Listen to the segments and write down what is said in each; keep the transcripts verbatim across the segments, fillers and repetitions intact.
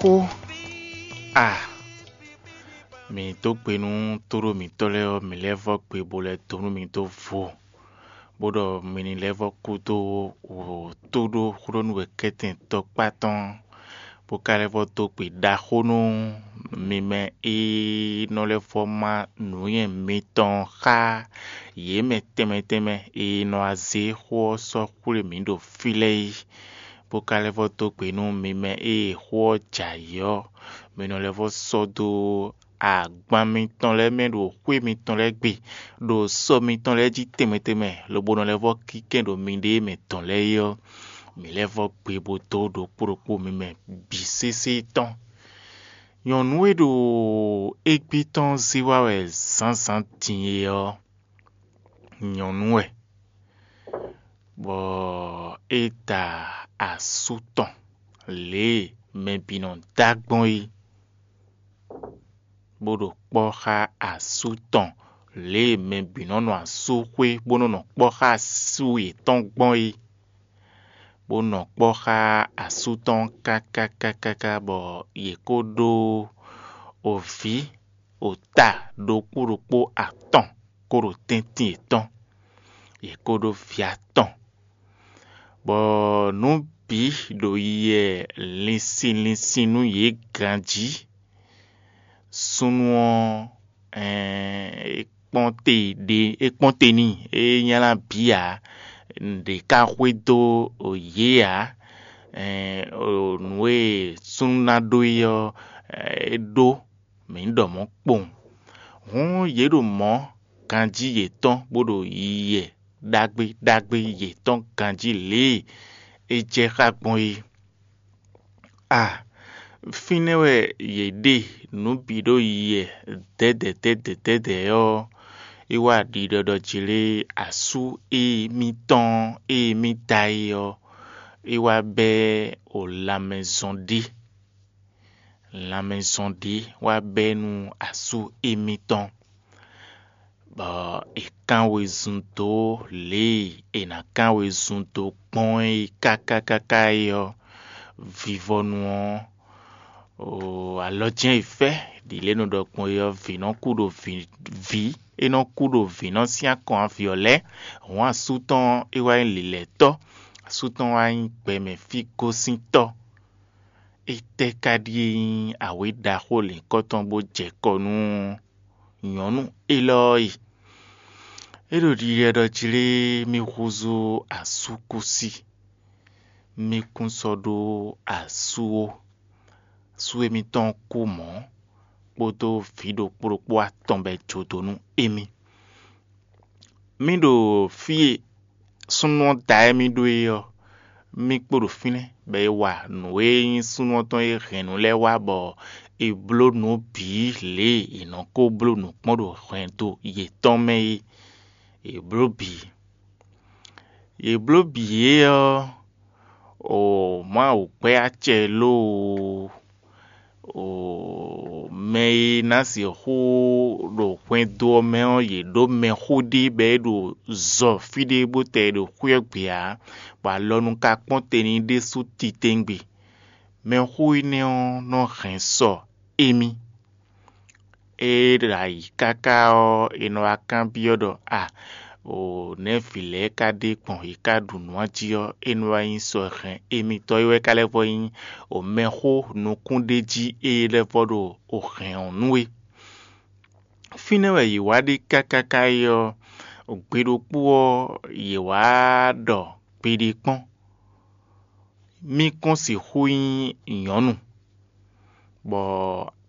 Xó a, mǐ dó gbe nú tóɖó mǐtɔn lɛ́ɛ ɔ́, mǐ lɛ́ vɔ́ gbe bó lɛ́ dó nú mì dó vo, bó ɖɔ mi ní lɛ́ vɔ́ kú dó wǒ tóɖó xwlónú wěkɛ́tɛn tɔkpá tɔn, bó ka lɛ́ vɔ́ dó gbe ɖaxó nú mi mɛ e nɔ lɛ́ vɔ́ má nǔnywɛ́ mitɔn xá yě mɛ tɛnmɛ tɛnmɛ e nɔ wá zé xó ɔ́ sɔ́ xwlé mǐ ɖo fí lɛ́ɛ é, bó ka lɛ́ vɔ́ dó gbe nú mi mɛ e xó ɔ́ jɛ ayǐ ɔ́, mi nɔ lɛ́ vɔ́ sɔ́ dó agban mitɔn lɛ́ɛ mɛ ɖo xwé mitɔn lɛ́ɛ gbe, ɖo sɔ mitɔn lɛ́ɛ jí tɛnmɛ tɛnmɛ, lobo nɔ lɛ́ vɔ́ kínkɛn ɖo miɖée mɛ dɔn lɛ́ɛ é ɔ́, mǐ lɛ́ vɔ́ gbe bó dó ɖokpó ɖokpó mi mɛ bǐ sésé tɔn. Nyɔ̌nu e ɖo égbé tɔn zé wá wɛ zǎnzǎn din é ɔ́, nyɔ̌nu wɛ, bɔ é da asú tɔn lě e mɛ bǐ nɔ dá gbɔn é, bó ɖo kpɔ́ xá asú tɔn lě e mɛ bǐ nɔ nɔ asúxwé bó nɔ nɔ kpɔ́ xá asú yětɔn gbɔn é, bó nɔ kpɔ́ xá asú tɔn káká káká ká bɔ yě kó ɖó ovǐ ota ɖokpó ɖokpó atɔn kó ɖo tɛ́ntin yětɔn, yě kó ɖó vǐ atɔn, bɔ nǔ bǐ ɖo yiyi linsin linsin nú yě ganjí. Súnnu ɔ́, é kpɔ́n te ɖe é kpɔ́n te n'i, é nylá bǐ ǎ. Nǔɖé ka xwedó yě ǎ. Nǔ e súnnu ná ɖó é ɔ́, é ɖó, mǐ ɖɔ mɔ̌ kpowun. Hǔn yě ɖo mɔ̌ ganjí yětɔn bó ɖo yiyi ɖagbe ɖagbe yětɔn ganjí lě e é jɛ xá gbɔn é. A, fínɛ́ wɛ yě ɖe nǔ bǐ ɖo yiyi dɛ̌dɛ̌ dɛ̌dɛ̌ dɛ̌dɛ̌ ɔ́, é wá ɖiɖɔɖɔ jlé asú e mitɔn e mì da é ɔ́, é wá bɛ́ o lanmɛ zɔn ɖé. Lanmɛ zɔn ɖé wá bɛ́ nú asú émítɔn, bɔ è kán wezun dó lě e è nǎ kán wezun dó gbɔn é káká káká é ɔ́, vivɔnu ɔ́, o alɔ jɛ́n è fɛ́ ɖi lě e è nɔ ɖɔ gbɔn é ɔ́, vǐ nɔ kú ɖo vǐ vǐ é nɔ kú ɖo vǐ nɔ sín akɔn avǐ ɔ́ lɛ́ɛ. Hǔn asú tɔn é wá nyí lǐlɛ́tɔ́, asú tɔn wá nyí gbɛmɛ fí gosíntɔ́. Étɛ́ ka ɖíe nyí awě ɖaxó lǐnkɔ́ tɔn bó jɛ kɔ nú nyɔ̌nu élɔ́ ɔ́ e? É ɖo ɖiɖɛ ɖɔ jlé mì húzú asúkúsi, mì kún sɔ́ ɖó asú ó. Asú émítɔn kú mɔ̌, kpódó vǐ ɖokpó ɖokpó atɔn bɔ é jó dó nú émí. Mì ɖo fí e súnnu ɔ́ da émí ɖó é ɔ́, mì kpo ɖo fínɛ́, bɔ è wa nǔ e nyí súnnu ɔ́ tɔn e hɛn nǔ lɛ́ɛ wá, bɔ è bló nǔ bǐ lě e è nɔ ko bló nǔ kpɔ́n ɖo hɛndo yětɔn mɛ é. È bló bǐ. È bló bǐ é ɔ́, o Mawu gbɛ́ acɛ lóo, o mɛ e ná sixú ɖo hwɛndo ɔ́ mɛ ɔ́, yě ɖó mɛxó ɖé bɔ é ɖo zɔ fí ɖé bó tɛ ɖo xwé ɔ́ gbe ǎ, bɔ alɔnu ka kpɔ́n te n'i ɖésú titewungbe. Mɛxó énɛ́ ɔ́ nɔ hɛn sɔ émí. É ɖo ayǐ káká ɔ́, è nɔ wá kanbyɔ́ ɖɔ: “A, o nɛ̌ vǐ lɛ́ɛ ka ɖe gbɔn yě ka ɖu nǔ a jí?” Ɔ́, é nɔ wá nyí sɔ hɛn émítɔn é wɛ ka lɛ́ vɔ nyí o mɛxó nukúnɖéjí e lɛ́ vɔ ɖo o hɛn ɔ́ nú é. Fínɛ́ wɛ yě wá ɖe káká ká é ɔ́, gbe ɖokpó ɔ́, yě wá ɖɔ gbeɖé kpɔ́n. Mì kɔn sixú nyí nyɔ̌nu, bɔ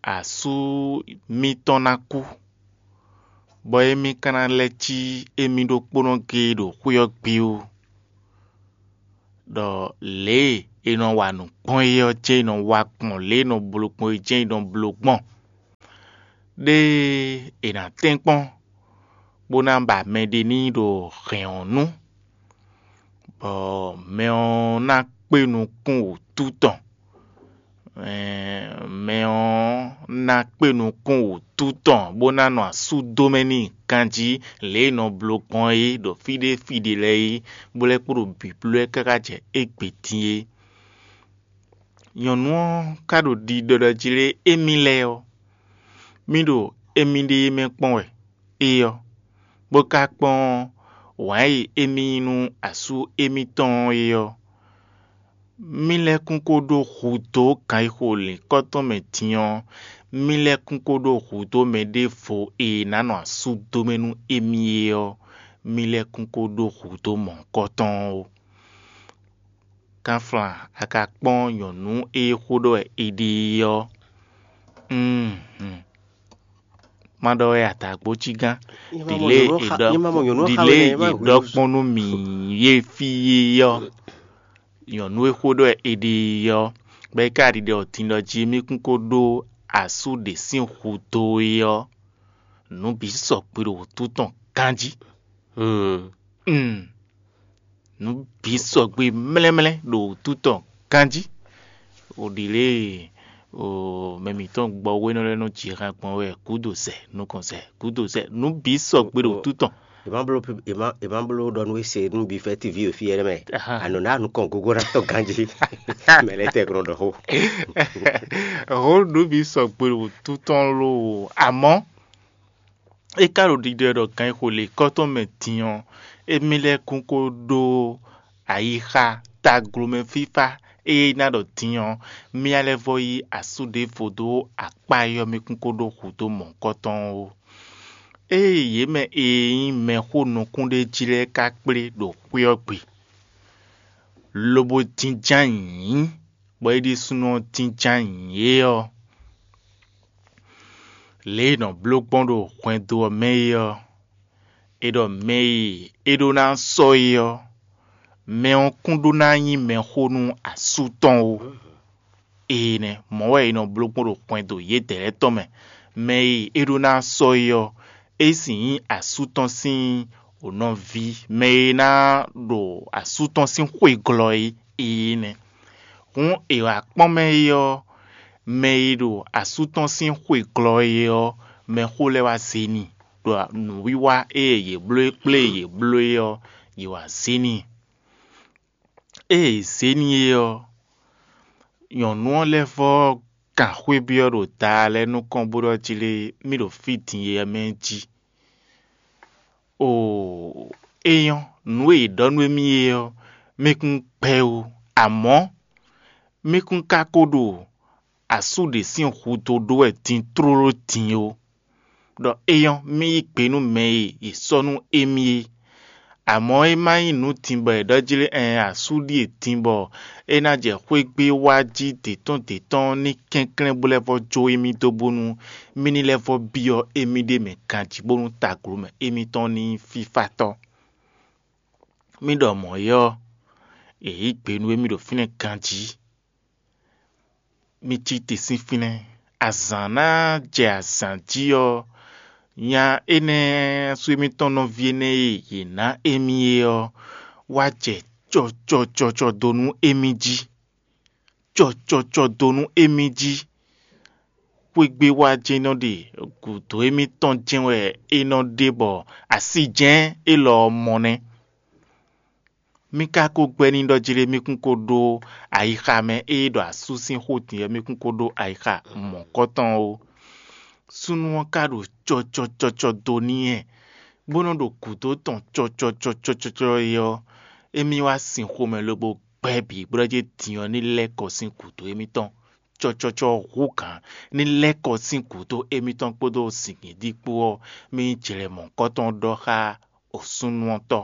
asú mítɔn ná kú, bɔ émí ka ná lɛ́ cí émí ɖokpónɔ géé ɖo xwé ɔ́ gbe ó, ɖɔ lě e è nɔ wa nǔ gbɔn é ɔ́ jɛ́n è nɔ wa gbɔn, lě e è nɔ bló gbɔn é jɛ́n è nɔ bló gbɔn. Ɖé è nǎ tɛ́nkpɔ́n bó ná ba mɛɖé n'i ɖo hɛ̌n ɔ́ nu, bɔ mɛ ɔ́ ná kpé nukún wǔtu tɔn. Mɛ ɔ́ ná kpé nukún wǔtu tɔn bó ná nɔ asú dó mɛ n'i ganjí lě e è nɔ bló gbɔn é ɖo fí ɖé fí ɖé lɛ́ɛ é, bó lɛ́ kpo ɖo bǐbló ɛ káká jɛ égbé dín é. Nyɔ̌nu ɔ́ ka ɖo ɖiɖɔ ɖɔ jí lé émí lɛ́ɛ ɔ́, mí ɖo émí ɖée mɛ kpɔ́n wɛ é ɔ́, bó ka kpɔ́n wǎn e émí yí nú asú émítɔn ɔ́ é ɔ́, mí lɛ́ kún ko ɖó hudó gǎn e xo lǐnkɔ́ tɔn mɛ din ɔ́, mí lɛ́ kún ko ɖó hudó mɛ ɖěvo e ná nɔ asú dó mɛ nú émí é ɔ́, mí lɛ́ kún ko ɖó hudó mɔ̌hunkɔtɔn ó. Kanflan, a ka kpɔ́n nyɔ̌nu e xó ɖɔ wɛ è ɖe é ɔ́? Má ɖɔ wɛ adǎgbócígán. Ɖile è ɖɔ ɖile è ɖɔ kpɔ́n nú mǐ yé fí é ɔ́, nyɔ̌nu e xó ɖɔ wɛ è ɖe é ɔ́, bɔ é ka ɖiɖɔ din ɖɔ jí mí kún ko ɖó asú ɖě sín hudó é ɔ́, nǔ bǐ sɔgbe ɖo wǔtu tɔn ganjí. Nǔ bǐ sɔgbe mlɛ́mlɛ́ ɖo wǔtu tɔn ganjí. O ɖi lě e o mɛ mǐtɔn gbɔ wénɔ lɛ́ɛ nɔ ji han gbɔn wɛ gǔdo zɛ nukɔn zɛ gǔdo zɛ nǔ bǐ sɔgbe ɖo wǔtu tɔn. È má bló è má è má bló ɖɔ nú we se nú bi fɛ tivi o fí yɛ mɛ. Anɔ ná nukɔn gogo ná tɔ ganjí. Mɛ lɛ tɛ glɔn ɖɔ xó. Hó nǔ bǐ sɔgbe ɖo wǔtu tɔn lo. Àmọ́ é ka ɖo ɖiɖɔ ɖɔ gan e xo lě kɔ́tɔn mɛ din ɔ́, émí lɛ́ɛ kún ko ɖó ayixa taglomɛ fífá e ná ɖɔ din ɔ́, mía lɛ́ vɔ yí asú ɖěvo dó akpá e ɔ́ mɛ kún ko ɖó hudó mɔ̌hunkɔtɔn ó. Ée yě mɛ e nyí mɛxó nukúnɖéjí lɛ́ɛ ka kplé ɖo xwé ɔ́ gbe, lobo jínjɔ́n ayǐ, bɔ é ɖésúnɔ ɔ́ jínjɔ́n ayǐ é ɔ́, lě e è nɔ bló gbɔn ɖo hwɛndo ɔ́ mɛ é ɔ́, è ɖɔ mɛ e é ɖó ná sɔ́ é ɔ́, mɛ ɔ́ kún ɖó ná nyí mɛxó nú asú tɔn ó. Énɛ́ mɔ̌ wɛ è nɔ bló gbɔn ɖo hwɛndo yědɛɛ lɛ́ɛ tɔn mɛ. Mɛ e é ɖó ná sɔ́ é ɔ́, é sì nyí asú tɔn sín nɔví, mɛ e ná ɖo asú tɔn sín xwe glɔ́ é. Énɛ́ hǔn è wǎ kpɔ́n mɛ é ɔ́, mɛ e ɖo asú tɔn sín xwe glɔ́ é ɔ́, mɛxó lɛ́ɛ wá zé n'i, ɖo nǔwiwa e yě bló e kplé yě bló é ɔ́, yě wá zé n'i. Ée è zě n'i é ɔ́, nyɔ̌nu ɔ́ lɛ́ vɔ́ kan xwé byɔ́ ɖo daa lɛ́ɛ nukɔn bó ɖɔ jí lé mì ɖo fí din e mɛ jí. Oo, é nyɔ́, nǔ e è ɖɔ nú émí é ɔ́, mì kún gbɛ́ ó, amɔ̌ mì kún ka ko ɖo asú ɖě sín hudó ɖó wɛ din tlóló din ó. Ɖɔ é nyɔ́, mì yí gbe nú mɛ e è sɔ́ nú émí é. Amɔ̌ é má nyí nǔ din bɔ è ɖɔ jí lé ɛɛn asú ɖíe din bɔ é ná jɛ xwé gbé wá jí dě tɔn dě tɔn ní kɛnklɛ́n bó lɛ́ vɔ́ jó émí dó bónú mì ní lɛ́ vɔ́ byɔ́ émí ɖ'é mɛ ganjí bónú taglomɛ émítɔn ní nyí fífátɔ́. Mì ɖɔ mɔ̌ é ɔ́, è yǐ gbe nú émí ɖo fínɛ́ ganjí. Mi cí te sín fínɛ́. Azǎn ná jɛ azǎn jí ɔ́, nya énɛ́ sú émítɔn nɔví énɛ́ e yě ná émí é ɔ́, wá jɛ cɔcɔcɔcɔ dó nú émí jí. Cɔcɔcɔ dó nú émí jí. Xwégbé wá jɛ́n nɔ ɖe gǔdo émítɔn jɛ́n wɛ é nɔ ɖe bɔ así jɛ́n élɔ́ ɔ́ mɔ nɛ́. Mì ka ko gbɛ́ n'i ɖɔ jí lé mì kún ko ɖó ayixa mɛ e ɖɔ asú sín xó din ɔ́, mì kún ko ɖó ayixa mɔ̌kɔtɔn ó. Súnnu ɔ́ ka ɖo cɔcɔcɔcɔ dó n'i wɛ, bó nɔ́ ɖo gǔdo tɔn cɔcɔcɔcɔcɔ é ɔ́, émí wá sin xomɛ lobo gbɛ́ bǐ bó ɖɔ jí din ɔ́ ní lɛ́ kɔ sín gǔdo émítɔn. Cɔcɔcɔ hú gǎn ní lɛ́ kɔ sín gǔdo émítɔn kpódó zǐngídi kpó ɔ́, mì jlɛ̌ mɔ̌kɔtɔn ɖɔ xá osúnnuɔtɔ́,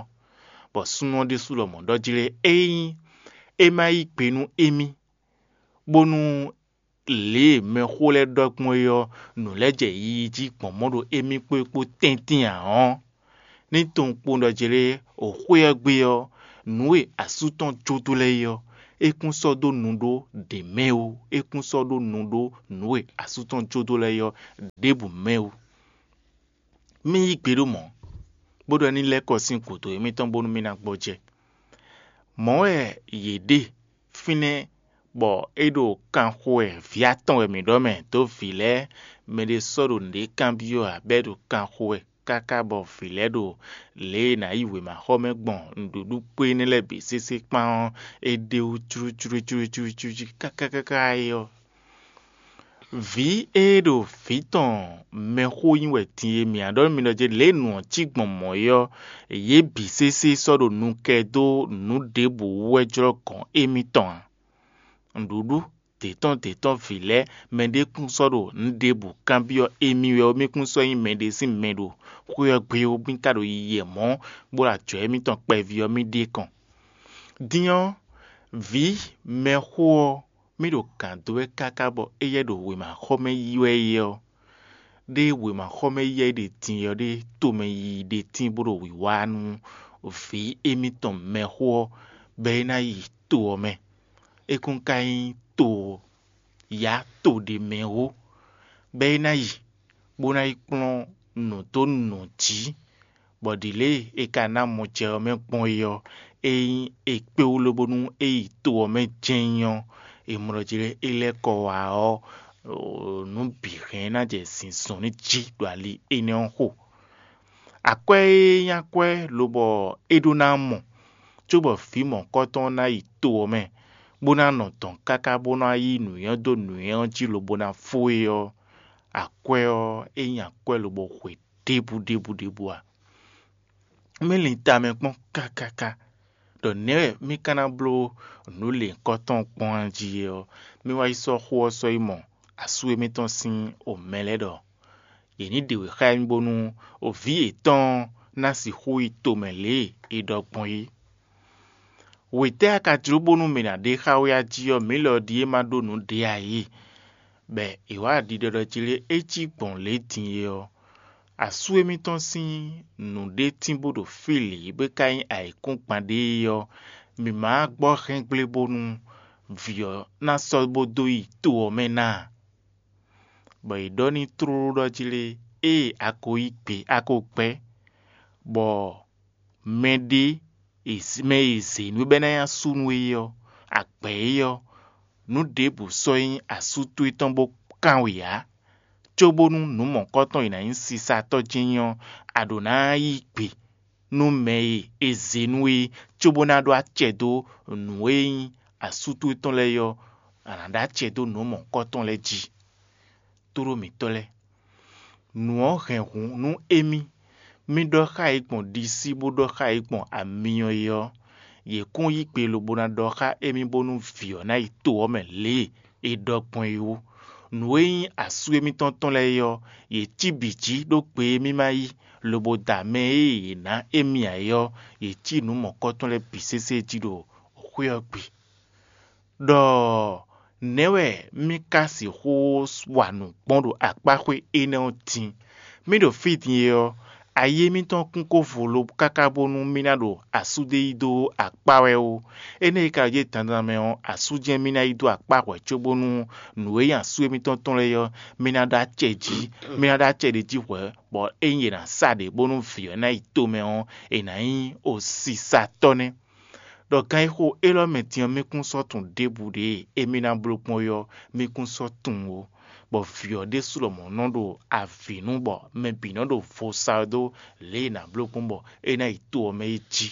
bɔ súnnu ɔ́ ɖésú lɔmɔ̌ ɖɔ jí lé ényí é má yí gbe nú émí, bónú lě e mɛxó lɛ́ɛ ɖɔ gbɔn é ɔ́, nǔ lɛ́ɛ jɛ yiyi jí gbɔn mɔ̌ ɖo émí kpó é kpó tɛ́ntin ǎ ɔ́, ní tunwun kpowun ɖɔ jí lé o xwé ɔ́ gbe ɔ́, nǔ e asú tɔn jó dó lɛ́ɛ é ɔ́, é kún sɔ́ dó nu ɖó ɖě mɛ ó; é kún sɔ́ ɖó nu ɖó nǔ e asú tɔn jó dó lɛ́ɛ é ɔ́ ɖěbǔ mɛ ó. Mì yí gbe ɖó mɔ̌, bó ɖɔ ní lɛ́ kɔ sín gǔdo émítɔn bónú mì ná gbɔjɛ́. Mɔ̌ wɛ yě ɖe fínɛ́ bɔ é ɖo kan xo wɛ vǐ atɔn wɛ mǐ ɖɔ mɛ dó vǐ lɛ́ɛ, mɛɖé sɔ́ ɖo nǔɖé kanbyɔ́ ǎ, bɔ é ɖo kan xo wɛ. káká bɔ vǐ lɛ́ɛ ɖo lě e è nǎ yi wěmaxɔmɛ gbɔn nǔɖuɖu kpó énɛ́ lɛ́ɛ bǐ sésé kpán ɔ́, é ɖ'é wú clúclúclúclú kákákáká é ɔ́. Vǐ e ɖo vǐ tɔn mɛxó nyí wɛ din e mǐ á ɖɔ nú mi ɖɔ jí lě e nǔ ɔ́ cí gbɔn mɔ̌ é ɔ́, yě bǐ sésé sɔ́ ɖo nu kɛ dó nǔ ɖěbǔ wú wɛ jlɔ́ gɔ̌n émítɔn ǎ. Nǔɖuɖu dě tɔn dě tɔn vǐ lɛ́ɛ, mɛɖé kún sɔ́ ɖo nǔ ɖěbǔ kanbyɔ́ émí wɛ ó, mí kún sɔ́ nyí mɛɖé sín mɛ ɖo xwé ɔ́ gbe ó, mí ka ɖo yiyi mɔ̌, bó ɖo ajɔ̌ émítɔn kpɛví ɔ́ mì ɖe kɔn. Din ɔ́, vǐ mɛxó ɔ́, mì ɖo gǎn dó wɛ káká bɔ éyɛ́ ɖo wěmaxɔmɛ yi wɛ é ɔ́, ɖé wěmaxɔmɛ yi wɛ é ɖe din ɔ́ ɖé tomɛ yiyi ɖe tín bó ɖo wǐwá nú vǐ émítɔn mɛxó ɔ́, bɔ é ná yi to ɔ́ mɛ. É kún ka nyí to yǎ to ɖé mɛ ó, bɔ é ná yi bó ná yi kplɔ́n nǔ dó nǔ jí, bɔ ɖǐ lě e è ka ná mɔ jɛ ɔ́ mɛ gbɔn é ɔ́, ényí è kpé wú lobónú é yi to ɔ́ mɛ jɛ́n ɔ́, è mɔ ɖɔ jí lé é lɛ́ kɔ wá ɔ́, nǔ bǐ hɛn ná jɛ zinzɔn ní jí ɖo ali énɛ́ ɔ́ xo. Akwɛ́ e nyí akwɛ́ lobɔ é ɖó ná mɔ, cóbɔ vǐ mɔ̌hunkɔtɔn ná yi to ɔ́ mɛ, bó ná nɔ dɔ̌n káká bó ná yí nǔnywɛ́ dó nǔnywɛ́ ɔ́ jí lobo ná fó é ɔ́, akwɛ́ ɔ́, é nyí akwɛ́ lobo xwe ɖěbǔ ɖěbǔ ɖěbǔ ǎ. Mì lin tamɛ kpɔ́n kákáká ɖɔ nɛ̌ wɛ mì ka ná bló nǔ lěhunkɔtɔn kpɔ́n jí é ɔ́, mì wá yi sɔ́ xó ɔ́ sɔ́ yi mɔ asú émítɔn sín omɛ lɛ́ɛ ɖɔ yě ní ɖe wě xá émí bónú vǐ yětɔn ná sixú yi tomɛ lě e è ɖɔ gbɔn é. Wětɛ́ a ka jló bónú mǐ ná ɖe xá wɛ a jí ɔ́, mǐ lɔ ɖíe ma ɖó nǔ ɖě ǎ é? Bɔ è wǎ ɖiɖɔɖɔ jí lé é cí gbɔn lě din é ɔ́, asú émítɔn sín nǔɖétínbó ɖo fí lě bó ka nyí ayǐkúngban ɖé é ɔ́, mǐ ma gbɔ hɛn gblé bónú vǐ ɔ́ ná sɔ́ bó dó yi to ɔ́ mɛ ná a? Bɔ è ɖɔ n'i tlóló ɖɔ jí lé, ée a ko yí gbe a ko gbɛ́, bɔ mɛɖé mɛ e è zě nú é bɔ é ná nyí asú nú é ɔ́, a gbɛ̌ é ɔ́, nǔ ɖěbǔ sɔ́ nyí asú towe tɔn bó kán wě ǎ, cóbónú nǔ mɔ̌kɔtɔn e ná nyí sisatɔ́ jɛ́n nyí ɔ́, a ɖǒ ná yí gbe nú mɛ e è zě nú é, cóbó ná ɖó acɛ dó nǔ e nyí asú towe tɔn lɛ́ɛ é ɔ́, a nǎ ɖó acɛ dó nǔ mɔ̌kɔtɔn lɛ́ɛ jí. Tóɖó mǐtɔn lɛ́ɛ, nǔ ɔ́ hɛn hǔn nú émí. Mì ɖɔ xá yě gbɔn ɖisí bó ɖɔ xá yě gbɔn amyɔ é ɔ́, yě kún yí gbe lobo ná ɖɔ xá émí bónú vǐ ɔ́ ná yi to ɔ́ mɛ lě e è ɖɔ gbɔn é ó. Nǔ e nyí asú émítɔn tɔn lɛ́ɛ é ɔ́, yě cí bǐ jí ɖó gbe e mì ma yí, lobo da mɛ e yě ná émí ǎ é ɔ́, yě cí nǔ mɔ̌kɔtɔn lɛ́ɛ bǐ sésé jí ɖo xwé ɔ́ gbe. Ɖɔ nɛ̌ wɛ mì ka sixú wa nǔ gbɔn ɖo akpáxwé énɛ́ ɔ́ din? Mì ɖo fí din é ɔ́, ayé mǐtɔn kún ko vo lo káká bónú mì ná ɖo asú ɖé yí dó akpá wɛ ó. Énɛ́ e ka ɖo dandan mɛ ɔ́, asú jɛ́n mì ná yí dó akpá hwɛ̌ cóbónú nǔ e nyí asú émítɔn tɔn lɛ́ɛ ɔ́, mì ná ɖó acɛ jí, mì ná ɖó acɛ ɖé jí hwɛ̌, bɔ ényí è nǎ sa ɖě bónú vǐ ɔ́ ná yi tomɛ ɔ́, è nǎ nyí osisatɔ́ nɛ́. Ɖɔ gan e xo élɔ́ mɛ din ɔ́, mì kún sɔ́ tunwun ɖěbǔ ɖě e émí ná bló gbɔn é ɔ́, mì kún sɔ́ tunwun ó, bɔ vǐ ɔ́ ɖésú lɔmɔ̌ nɔ ɖo avǐ nú bɔ mɛ bǐ nɔ ɖo vo sa ɛ dó lě e è nǎ bló gbɔn bɔ é ná yi to ɔ́ mɛ é jí.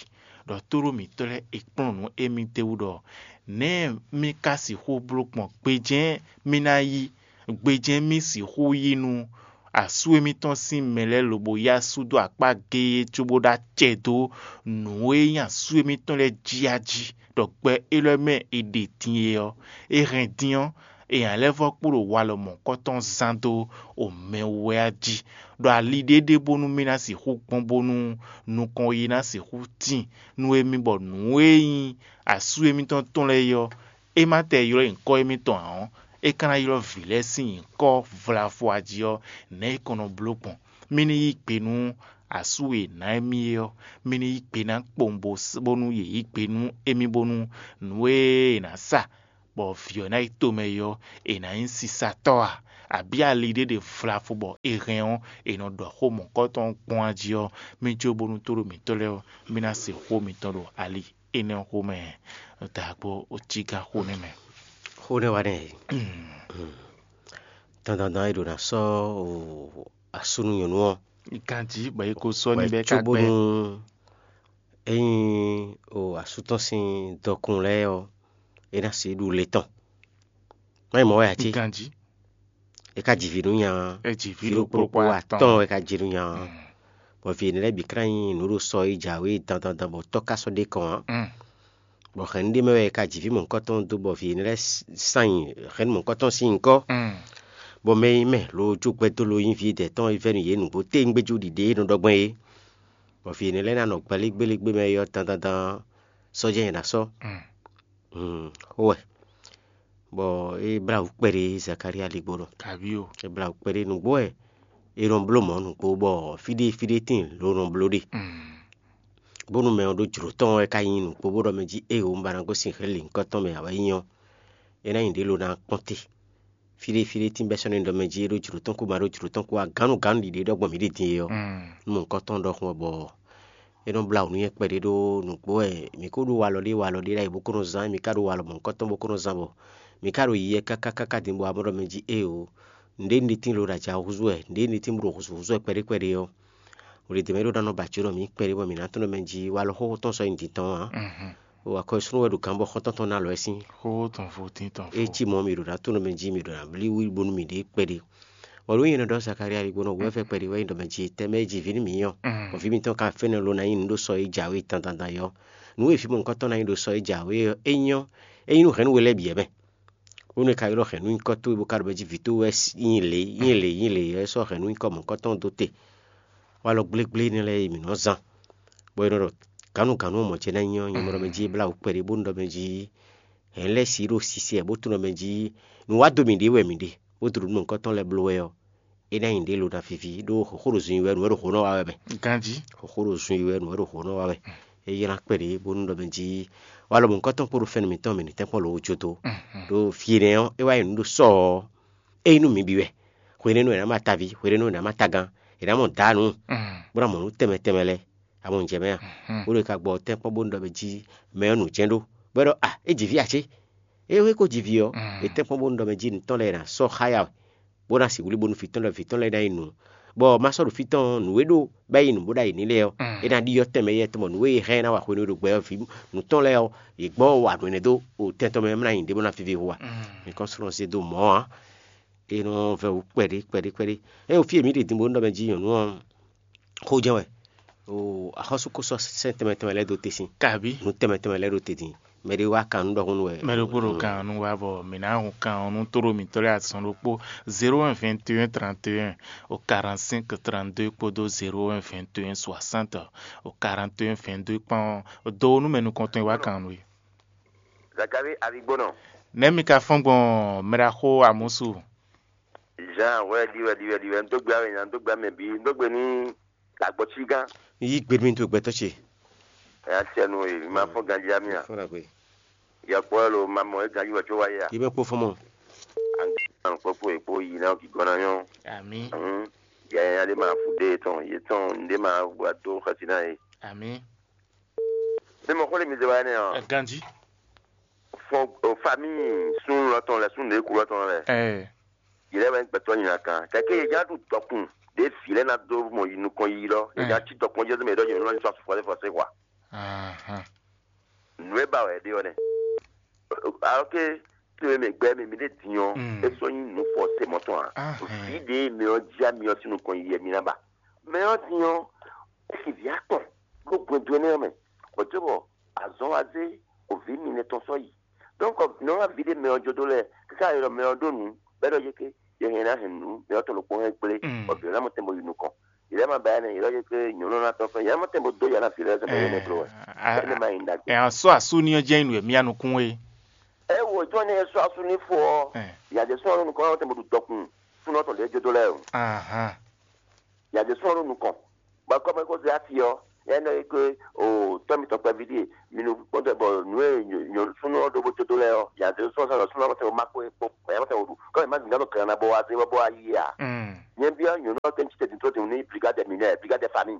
Ɖɔ tóɖó mǐtɔn lɛ́ɛ è kplɔ́n nǔ émí d'é wú ɖɔ nɛ̌ mì ka sixú bló gbɔn gbejɛ́n mì ná yí, gbejɛ́n mì sixú yí nú asú émítɔn sín mɛ lɛ́ɛ lobo yí asú dó akpá géé cóbó ɖó acɛ dó nǔ e nyí asú émítɔn lɛ́ɛ jí a jí, ɖɔ gbɛ élɔ́ mɛ è ɖe din é ɔ́, è hɛn din ɔ́, è nǎ lɛ́ vɔ́ kpo ɖo walɔ mɔ̌kɔtɔn zán dó omɛ wú wɛ a jí, ɖɔ ali ɖé ɖe bónú mì ná sixú gbɔn bónú nukɔn yi ná sixú tíin nú émí bɔ nǔ e nyí asú émítɔn tɔn lɛ́ɛ é ɔ́, é ma tɛ ylɔ́ nyǐkɔ émítɔn ǎ ɔ́, é ka ná ylɔ́ vǐ lɛ́ɛ sín nyǐkɔ vlavo a jí ɔ́, nɛ̌ é kɔn nɔ bló gbɔn? Mì ní yí gbe nú asú e è nǎ émí é ɔ́, mì ní yí gbe ná kpowun bónú yě yí gbe nú émí bónú nǔ e è nǎ sa bɔ vǐ ɔ́ ná yi tomɛ é ɔ́, è nǎ nyí sisatɔ́ a? Abǐ ali ɖé ɖe vlavo bɔ è hɛn ɔ́, è nɔ ɖɔ xó mɔ̌kɔtɔn gbɔn a jí ɔ́, mì jó bónú tóɖó mǐtɔn lɛ́ɛ ɔ́, mì ná se xó mitɔn ɖo ali énɛ́ ɔ́ xomɛ. Dǎgbó, ó cí gán xó nɛ́ mɛ. Xó nɛ́ wa nɛ́. Dandandan e ɖo ná sɔ́ asúnú nyɔ̌nu ɔ́, Ganjí bɔ é ko sɔ́ ní bɛ́ ká gbɛ́. Cóbónú ényí o asú tɔn sín dɔkun lɛ́ɛ ɔ́, é ná sixú ɖu le tɔn. Má nyí mɔ̌ wɛ ǎ cé? Ganjí. É ka ji vǐ nú nya ɔ́. É ji vǐ ɖokpó ɖokpó atɔ́ɔ́n wɛ ka ji nú nya ɔ́. Bɔ vǐ énɛ́ lɛ́ɛ bǐ ká nyí nǔ ɖo sɔ e jǎwe dandandan bɔ tɔ́ ka sɔ́ ɖe kɔn ǎ. Bɔ hɛ̌nnu ɖé mɛ wɛ è ka ji vǐ mɔ̌hunkɔtɔn dó bɔ vǐ énɛ́ lɛ́ɛ sán nyi hɛ̌nnu mɔ̌hunkɔtɔn sín nyǐkɔ. Bɔ mɛ e nyí mɛ lo jó gbɛdó lo nyí vǐ dɛ̌ tɔn e vɛ́ nú yě nǔgbó téwúngbéjú ɖiɖe e nɔ ɖɔ gbɔn é. Bɔ vǐ énɛ́ lɛ́ɛ ná nɔ gbɛlígbélégbé mɛ é ɔ́ dandandan ɔ́, sɔ́ jɛ́n è nǎ sɔ́. Xó wɛ, bɔ é blá wǔ kpɛɖé Zakalía ligbó nɔ. Kabí o. É blá wǔ kpɛɖé nǔgbó wɛ è nɔ bló mɔ̌ nǔgbó bɔ fí ɖé fí ɖé tíin lǒ nɔ bló ɖe. Bónú mɛ ɔ́ ɖó jlǒ tɔn wɛ ka nyí nǔgbó bó ɖɔ mɛ jí éeǒ un ba ná gosín hɛ̌nlǐnkɔ́ tɔn mɛ ǎ wɛ nyí ɔ́, é ná nyí ɖě lo ná kpɔ́n te. Fí ɖé fí ɖé tíin bɛ́ sɔ́ nú ɖɔ mɛ jí é ɖó jlǒ tɔn kú ma ɖó jlǒ tɔn kú ǎ, gǎnnugǎnnu ɖiɖe ɖɔ gbɔn mǐ ɖe din é ɔ́, nú mɔ̌hunkɔtɔn ɖɔhun ɔ́ bɔ é nɔ blá wǔ nú nyɛ kpɛɖé ɖó nǔgbó wɛ mǐ ko ɖó walɔ ɖé walɔ ɖé ɖ'ayǐ bó ko nɔ zán, mǐ ka ɖó walɔ mɔ̌hunkɔtɔn bó ko nɔ zán bɔ mǐ ka ɖo yiyi káká káká din bɔ amɔ̌ ɖɔ mɛ jí éeǒ, nǔɖé un ɖe tíin lo ɖo ajǎ húzú wɛ, nǔɖé un ɖe tíin bó ɖo hǔzú húzú wɛ kpɛɖé kpɛɖé ɔ́, hweɖědɛ́ mɛ é ɖó ná nɔ ba jǒ nɔ mǐ kpɛɖé bɔ mǐ ná tunwun ɖɔ mɛ jí walɔ xóxó tɔn sɔ́ nyi din tɔn ǎ. O akɔ́súnú wɛ ɖo gǎn bɔ xɔ́ntɔn tɔn ná lɔ ɛ sín. Xóxó tɔn vo tín tɔn É vo. Cí mɔ̌ mǐ ɖo ná tunwun ɖɔ mɛ jí mǐ ɖo ná blí wí bónú mǐ ɖe kpɛɖé. Bɔ nǔ nyí nɔ ɖɔ Zakalía ɖi gbɔn wǔvɛ́ kpɛɖé wɛ nyí ɖɔ mɛ jí tɛmɛ e jí vǐ nú mǐ nyí ɔ́, bɔ vǐ mitɔn ka fɛ́nɛ lo ná nyí nǔ ɖó sɔ e jǎwe dandandan é ɔ́. Nǔ e vǐ mɔ̌hunkɔtɔn ná nyí ɖo sɔ e jǎwe ɔ́, é nyí ɔ́, é nyí nú hɛ̌nnu we lɛ́ɛ bǐ wɛ mɛ. Bónú è ka ylɔ́ hɛ̌nnu nyǐkɔ towe bó ka ɖo mɛ jí vǐ towe wɛ nyí lě nyí lě nyí lě ɔ́, é sɔ́ hɛ̌nnu nyǐkɔ mɔ̌hunkɔtɔn dó te. Walɔ gblégblé énɛ́ lɛ́ɛ e mǐ nɔ́ zán, bɔ è nɔ ɖɔ gǎnnugǎnnu ɔ́ mɔ̌ ce ná nyí ɔ́, nyɛ mɔ ɖɔ mɛ jí é blá wǔ kpɛɖé bónú ɖɔ mɛ jí hɛ̌n lɛ́ɛ si ɖo sisɛ bó tunwun ɖɔ mɛ jí nǔ wá dó mì ɖě wɛ mǐ ɖe, bó dó ɖo nǔ mɔ̌hunkɔtɔn lɛ́ɛ bló wɛ ɔ́, é ná nyí ɖě lo ná víví ɖó xóxó ɖo zun yi wɛ nǔ wɛ ɖo xǒ nɔ wa wɛ mɛ. Ganjí. Xóxó ɖo zun yi wɛ nǔ wɛ ɖo xǒ nɔ wa wɛ. É ylɔ́ kpɛɖé bónú ɖɔ mɛ jí walɔ mɔ̌hunkɔtɔn kpó ɖo fɛ́nú mǐtɔn mɛ ní tɛ́nkpɔ́n lǒ jó dó. Ɖó fí énɛ́ ɔ́, é wá nyí nǔ ɖo sɔ ɔ́, é nyí nú mǐ bǐ wɛ. Hwenɛ́nu è nǎ mɔ ataví, hwenɛ́nu è nǎ mɔ atagán, è nǎ mɔ dǎnǔ, bó ná mɔ nǔ tɛnmɛ tɛnmɛ lɛ́ɛ. A mɔ nǔ jɛ mɛ a? Bó ɖo ka gbɔ tɛ́nkpɔ́n bónú ɖɔ mɛ jí mɛ ɔ́ nǔ jɛ́n ɖó, bɔ é ɖɔ a é ji vǐ ǎ cé? É wɛ ko ji vǐ ɔ́, è tɛ́nkpɔ́n bónú ɖɔ mɛ jí nǔ tɔn lɛ́ɛ è nǎ sɔ́ xá yá wɛ, bó ná sixú wlí bónú vǐ tɔn lɛ́ɛ vǐ tɔn lɛ́ɛ ná nyí nǔ, bɔ ma sɔ́ ɖo fí tɔn nǔ e ɖó bɔ é nyí nǔ bó ɖ'ayǐ n'i lɛ́ɛ ɔ́, é ná ɖyɔ́ tɛnmɛ yɛ tɔn bɔ nǔ e è hɛn ná wa hwenu e ɖo gbɛ ɔ́ vǐ nǔ tɔn lɛ́ɛ ɔ́, yě gbɔ wá nǔ énɛ́ dó o tɛn tɔn mɛ ɔ́ ná nyí ɖěbǔ ná víví hu a? Nyǐkɔ slɔ́n zé dó mɔ̌ ǎ. É nɔ vɛ́ wǔ kpɛɖé kpɛɖé kpɛɖé. É ɖo fí e mǐ ɖe din bónú ɖɔ mɛ jí nyɔ̌nu ɔ́ xó jɛ́n wɛ. O axɔ́sú ko sɔ́ sɛ́n tɛnmɛ tɛnmɛ lɛ́ɛ dó te sín. Kabí. Nǔ tɛnmɛ tɛnmɛ lɛ́ɛ ɖo te din. Mɛ ɖé wá kan nú ɖɔhun nú wɛ. Mɛ ɖokpó ɖo kan ɔ́ nú wá bɔ mǐ ná hun kan ɔ́ nú tóɖó mǐtɔn lɛ́ɛ azɔn ɖokpó, zéro un vingt et un trente et un au quarante-cinq trente-deux kpódó zéro un vingt et un soixante au quarante et un vingt-deux kpán ɔ́, do nú mɛ nukɔntɔn e wá kan ɔ́ nú we. Zakari Aligbónɔ. Nɛ̌ mi ka fɔ́n gbɔn mɛɖaxó Amɔ̌su? Jean wɛ ɖi wɛ ɖi wɛ ɖi wɛ un dó gbe awe nya un dó gbe amɛ bǐ un dó gbe ní Agbɔ́cígán. Yí gbe nú mì dó gbɛtɔ́ ce. Ɛ acɛnu e mi ma fɔ́n ganjí ami a? Fɔ́n ɖagbe. Yɔkpɔ́ lo ma mɔ é ganjí wɛ có wá yé a? Yí mɛ kpó fɔ́n mɔ. An kpɔ́ kpó èkpó yi ná kí gɔ́n ná nyɔ́. Àmì. Yaya ɖé ma fú dé tɔn yé tɔn ɖé ma wá dó xɛsi ná yé. Àmì. Bí mo xó lè mi zé wá nɛ ɔ. Ɛ ganjí. Fɔ o famille sun lɔ tɔn lɛ sun lè ku lɔ tɔn lɛ. Ɛ. Yɛlɛ wɛ gbɛtɔ nyina kan kɛkɛ yɛ ja ɖu dɔkun ɖe vi lɛ na do mɔ yi nukɔn yi lɔ yɛ ja ti dɔkun jɛ mɛ ɖɔ yɛ lɔ sɔ fɔse fɔse wa. Ahan. Nu e ba wɛ ɖe ɔ nɛ. Alors que to e mɛ gbɛ mi mi ɖe diɔ e sɔ nyi nu fɔse mɔtɔn a. Ahɛn. Vi ɖe mɛ ɔ ja mi ɔ sinu kɔn yi yɛ mi na ba. Mɛ ɔ diɔ e si vi akpɔn ɖo gbɛdo ɛnɛ ɔ mɛ. Bɔtɛ bɔ azɔn wa zé ovi mi nɛ tɔn sɔ yi. Donc nɔ wa vi ɖe mɛ ɔ jo do lɛ kaka yɔ mɛ ɔ ɖo nu bɛ ɖɔ yeke yɛ hɛn na hɛn nu mɛ ɔ tɔ ɖokpo hɛn kple ɔ bi ɔ na mɔ tɛn bo yi nukɔn. Yɛ ma ba yɛ nɛ yɛ ɖɔ yeke nyɔnu na tɔn fɛ yɛ ma tɛn bo do yɛ na fi lɛ sɛ mɛ yɛ nɛ klo wɛ. Ɛnɛ ma yi nda gbe. Ɛ sɔ asu ni ɔ jɛ nu mia nukun e. E wo jɔ ne sɔ asu ni fo ɔ. Yɛ de sɔ nukɔn tɛn bo ɖu dɔkun sunɔ tɔn lɛ jo do lɛ o. Ahan. Yɛ de sɔ nukɔn. Bɔ kɔmɛ ko zɛ afi ɔ, yɛ nɔ yi ke o tɔn mi tɔn kpɛvi ɖie mi nu kpɔntɔ bɔ nu e nyɔ súnú ɔ ɖo bó tó lɛ ɔ, yɛ de sɔ sɔ súnú ɔ ma ko kpɔ yɛ ma tɛ o ɖu kɔmɛ ma zin gánɔ kɛlɛ na bɔ wa zɛ bɔ wa yi a. Nyɛ bi ɔ nyɔnu ɔ tɛn titɛ din tó din ni brigade minɛ brigade famille.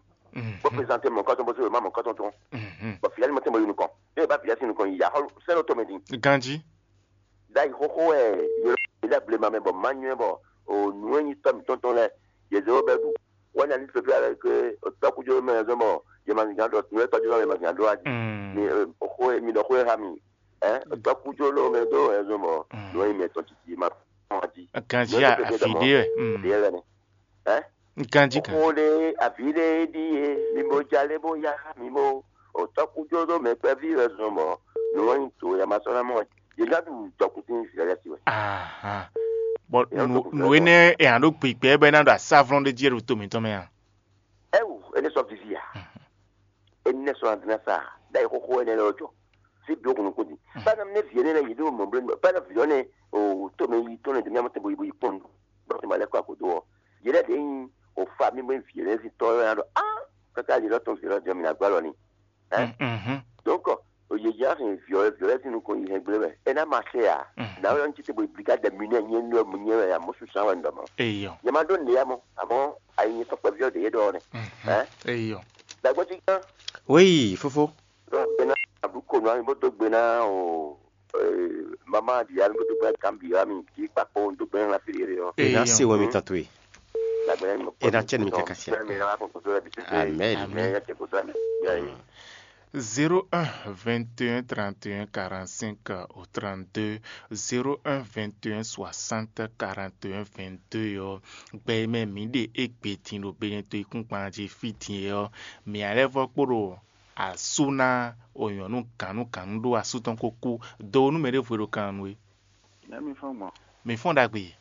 Bó présenter mɔ kɔtɔn bó sɛ ma mɔ kɔtɔn tɔn. Bɔ fiyali ma tɛ mɔ yi nukɔn. Yɛ ba fiyali si nukɔn yi ya xɔlu sɛnɛ tɔmɛ din. Ganji. Ɖ'ayǐ xóxó wɛ yě lɛ́ blema mɛ bɔ má nywɛ́ bɔ o nǔ e nyí tɔ́ mǐtɔn tɔn lɛ́ɛ yě zé wó bɛ́ ɖu. Wɛ nya ní fífí alɛ ke tɔkújó mɛ zɔn bɔ yɛ ma zǐngán ɖɔ nǔ e tɔjú lɔ yɛ ma zǐngán ɖó adi. Mi xó mi ɖɔ xó e ha mi. Ɛ tɔkújó lɔ mɛ dó ɛ zɔn bɔ nǔ e mɛ tɔn titi ma kpɔn adi. Ganji a afi ɖe wɛ. Ɖe lɛ nɛ. Ɛ Ganji kan. Xó ɖe avi ɖe ɖi e mi bo jalé bó ya mi bo tɔkújó ɖó mɛ kpɛví wɛ zɔn bɔ nǔ e nyi to yɛ ma sɔ́ ná mɔ. Yě ná ɖu jɔkútín Izlayɛ́li wɛ. Ahan. Bɔ nǔ nǔ énɛ́ e hɛn ɖó gbigbɛ bɔ é ná ɖo asáflɔ́n ɖé jí ɖo to mǐtɔn mɛ a? Ɛwu, énɛ́ sɔ́ vivi a? Énɛ́ sɔ́ ná dín ná sa a? Ɖ'ayǐ xóxó énɛ́ lɛ́ɛ jɔ. Fí bǐ ó kun nukún din. Bá ná mɛ vǐ énɛ́ lɛ́ɛ yě ɖó mɔ̌ bló bá ná vǐ ɔ́ nɛ́ o to mɛ yi tɔn nɛ dó mí amɔ́ tɛn bo yi bo yi kpɔ́n nǔ. Bɔ tɛn ma lɛ́ kɔ akodo ɔ́. Yě lɛ́ɛ ɖě nyí o fa mí bó nyí vǐ énɛ́ sín tɔ́ ɔ́ ná ɖɔ á kaka yě lɔ tɔn vǐ lɔ jɔ mǐ ná gbá lɔ n'i. Ɛ? Donc, o yeyá hɛn viɔlɛ viɔlɛ sín nukɔn yi hɛn gblé wɛ. É ná ma se a? Nǎwe ɔ́ ń títí bo blika dɛ mi nɛ nyɛ nɔ mi nyɛ wɛ a mɔ susu wɛ ndɔ mɔ. Eyɔ. Nyɛ ma ɖó nìyá mɔ, àmọ́ ayi nyɛ tɔkpɛ viɔ de yé ɖɔ nɛ. Ɛ? Eyɔ. Dàgbọ́ ti gán. Oui, fofo. Ɖó gbe ná àbú konu ami bó dó gbe ná o mama di ami bó dó gbe ná kan bi ami kí kpakpo dó gbe ná fi yé ɔ. E na se wɛ mi tɔn to ye. Dàgbẹ́ mi. E na cɛ mi kaka sia. Amen. Amen. Zéro un vingt et un trente et un quarante-cinq au trente-deux, zéro un vingt et un soixante quarante et un vingt-deux ɔ́, gbɛ e mɛ mǐ ɖe égbé din ɖo Benɛto yíkúngban jí fí din é ɔ́, mǐ ná lɛ́ vɔ́ kpo ɖo asú ná o nyɔ̌nu gǎnnugǎnnu ɖó asú tɔn ko kú dó nú mɛ ɖěvo e ɖo kan nu é. Nɛ̌ mi fɔ́n gbɔn? Mǐ fɔ́n ɖagbe.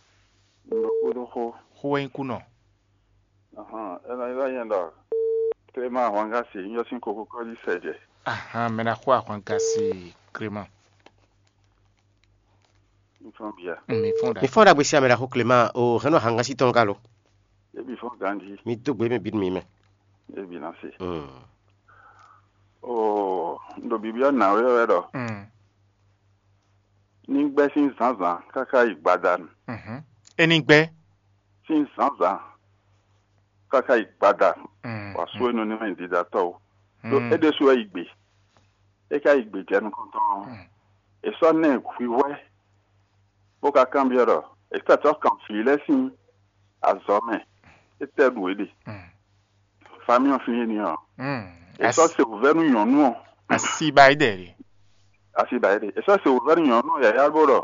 Un ɖo kúɖó xó. Xó wɛ nyí kú nɔ. Ahan, é ná nyí ɖɔ Clément Ahwangasi nyɔ sín kokokɔ́ jí sɛ jɛ. Ahan, mɛ ná xó Ahwangasi Clément. Mi fɔ́n bia. Mi fɔ́n ɖa. Mi fɔ́n ɖagbe sí amɛ ɖaxó Clément o hɛn nɔ Ahwangasi tɔn ka lo. Ebi fɔ́n ganji. Mi dó gbe mɛ bínú mi mɛ. Ebi ná se. Mm. Oo, un ɖo bibyɔ́ nǎwe wɛ ɖɔ. Mm. Ní gbɛ́ sín zǎnzǎn káká yi gbadanu. Mhm. É ní gbɛ́. Sín zǎnzǎn káká yi gbadanu. Mm. Wǎ sú énú ní mɛ ɖiɖatɔ́ o. Ɖó é ɖésú wɛ yi gbe. É ka yi gbe jɛ nukɔntɔn ɔ́. Mm. È sɔ́ ná ɛ hwihwɛ́ bó ka kanbyɔ́ ɖɔ è tɛ́ tɔ́ kan vǐ lɛ́ɛ sín azɔ̌ mɛ. Étɛ́ ɖu é ɖe? Mm. Famíɔn flín éní ɔ́. Mm. È sɔ́ se wǔvɛ́ nú nyɔ̌nu ɔ́. Asi ba yi ɖɛ ɖe. Asi ba yi ɖe. È sɔ́ se wǔvɛ́ nú nyɔ̌nu ɔ́ yǎyá bó ɖɔ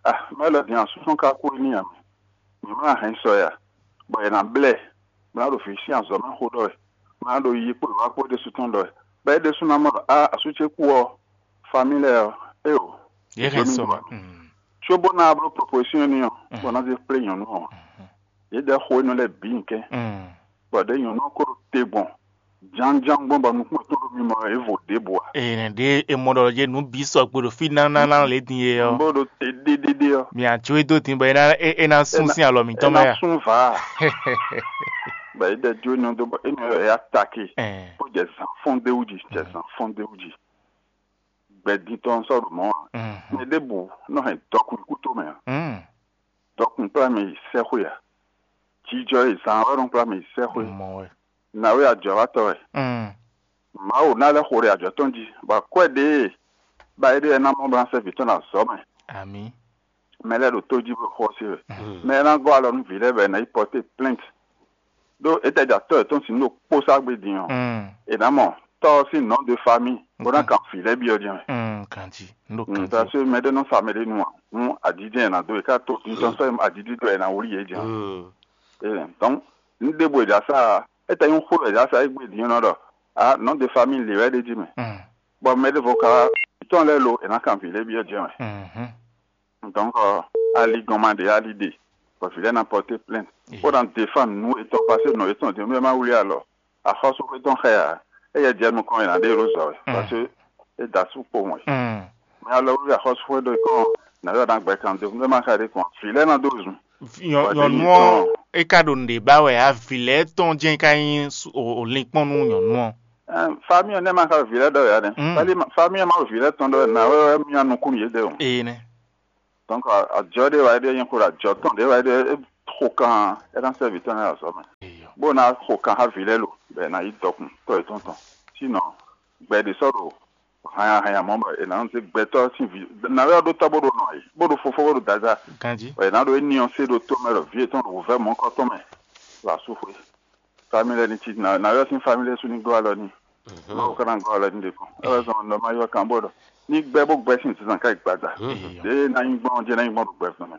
ah mɛ lɔ din asúsú ka kú éní ǎ mɛ. Mǐ má hɛn sɔ ya, bɔ è nǎ blɛ́, bó ná ɖo vǐ sín azɔ̌ mɛ xó ɖɔ wɛ, bó ná ɖo yiyi kpó wǐwá kpó ɖésú tɔn ɖɔ wɛ. Bɔ é ɖésú ná mɔ ɖɔ á asú ce kú ɔ́, famí lɛ́ɛ ɔ́, éeǒ. Yě hɛn sɔ mɛ. Cóbó ná bló proposition n'i ɔ́, bɔ ná zé kplé nyɔ̌nu ɔ́, yě ɖɛ xó énɛ́ lɛ́ɛ bǐ nyi kɛ́n, bɔ ɖěe nyɔ̌nu ɔ́ ko ɖo te gbɔn jánján gbɔn bɔ nukún yětɔn ɖo mimɔ wɛ, é vo ɖěbǔ ǎ. Ee, nɛɖé e mɔ ɖɔ yě nǔ bǐ sɔgbe ɖo fí nánáná lě din e ɔ́. Bó ɖo te ɖéɖéɖé ɔ́. Mǐ a jó e dó din bɔ é ná é é ná sún sín alɔ mǐtɔn mɛ a? Sún vǎ. Bɔ é ɖɛ jó énɛ́ dó bɔ énɛ́ ɔ́ é atake. Bó jɛ zǎn fɔ́n d'é wú jí, jɛ zǎn fɔ́n d'é wú jí. Gbɛdín tɔn sɔ́ ɖo mɔ̌ ǎ. Mɛ ɖěbǔ nɔ hɛn dɔkun kú tó mɛ ǎ. Dɔkun kplá mɛ yi sɛ́xwé ǎ. Jijɔ e zǎn wɛ nɔ kplá mɛ yi sɛ́xwé. Mɔ wɛ. Nǎwe ajɔ̌watɔ́ wɛ. Mawu ná lɛ́ xo ɖe ajɔ̌ tɔn jí, bɔ akwɛ́ ɖě e ba é ɖe ná mɔ bó ná sɛ́ vǐ tɔn ɖo azɔ̌ mɛ. Amǐ. Mɛ lɛ́ɛ ɖo tó jí bó xɔ sí wɛ. Mɛ e ná gɔ́ alɔ nú vǐ lɛ́ɛ bɔ è nǎ yi pɔ́té plɛ́nt. Ɖó é tɛ jɛ atɔ́ yětɔn sín ɖo kpó sá gbé din ɔ́, è nǎ mɔ tɔ́ ɔ́ sín nɔ̌ de famí bó ná kan vǐ lɛ́ɛ byɔ́ jɛ́n mɛ. Kanjí, un ɖo kanjí. Parce que mɛ ɖé nɔ sa mɛ ɖé nu ǎ, nú ajíjɛ́n è nǎ dó e ká to títɔn sɔ́ ajijijɔ è nǎ wlí yě jɛ́n. Ee, donc, nú ɖěbǔ è jǎ sá ɔ́, é tɛ nyí xó wɛ è jǎ sá é gbé din ɔ́ nɔ ɖɔ, a nɔ̌ de famí lě wɛ ɖ'é jí mɛ. Bɔ mɛ ɖěvo ka wá tɔn lɛ́ɛ lo è nǎ kan vǐ lɛ́ɛ byɔ́ jɛ́n mɛ. Donc, ali gɔn ma ɖe ali ɖe, bɔ vǐ lɛ́ɛ ná pɔté plɛ́n, bó ná défan nǔ yětɔn pasé nɔ yětɔn din, nú é má wlí alɔ. Axɔ́súxwé tɔn xɛ ǎ, éyɛ́ jɛ nukɔn è nǎ ɖe ɖó zɔ wɛ, parce que é da sú kpowun wɛ. Mɛ alɔ wlí axɔ́súxwé ɖó kɔn nǎ yɔ ná gbɛ kan dó, nú é má xɛ ɖé kɔn, vǐ lɛ́ɛ ná dó zun. Nyɔ̌nu ɔ́, é ka ɖo nǔɖé ba wɛ ǎ, vǐ lɛ́ɛ tɔn jɛ́n ka nyí linkpɔ́n nú nyɔ̌nu ɔ́. Famille ɔ́ nɛ́ ma xá vǐ lɛ́ɛ ɖɔ wɛ ǎ nɛ́. Famille ɔ́ ma ɖo vǐ lɛ́ɛ tɔn ɖɔ wɛ, nǎwe wɛ myá nukún yědɛɛ o. Ee nɛ́. Donc ajɔ ɖé wá ɖé nyí xó ɖo ajɔ tɔn ɖé wá ɖé xo kan ɛ ná sɛ́ vǐ tɔn lɛ́ɛ azɔ̌ mɛ, bó ná xo kan xá vǐ lɛ́ɛ lo, bɔ è nǎ yí dɔkun tɔ́ yětɔn tɔn. Sinon gbɛ ɖě sɔ́ ɖo hanya hanya mɔ̌ bɔ è nǎ nɔ zé gbɛtɔ́ sín vǐ nǎwe ɔ́ ɖó tɔ́ bó ɖo nɔ ayǐ, bó ɖo fofó bó ɖo dadá, Ganjí. Bɔ è nǎ ɖo éní ɔ́ sé ɖo tó mɛ ɖɔ vǐ yětɔn ɖo wǔvɛ́ mɔ̌kɔ́tɔn mɛ ɖo asúxwé. Família ní cí nǎ nǎ ylɔ́ sín família sú ní gɔ́ alɔ n'i. Mawu ka ná gɔ́ alɔ n'i ɖě kɔn. É wɛ zɔn nɔ ma ylɔ́ kan bó ɖɔ ní gbɛ́ bó gbɛ́ sín zǐnzán ká yi gbada. Ɖěe ná nyí gbɔn ɔ́ jɛ́n ná nyí gbɔn ɖo gbɛvɛ́ mɛ.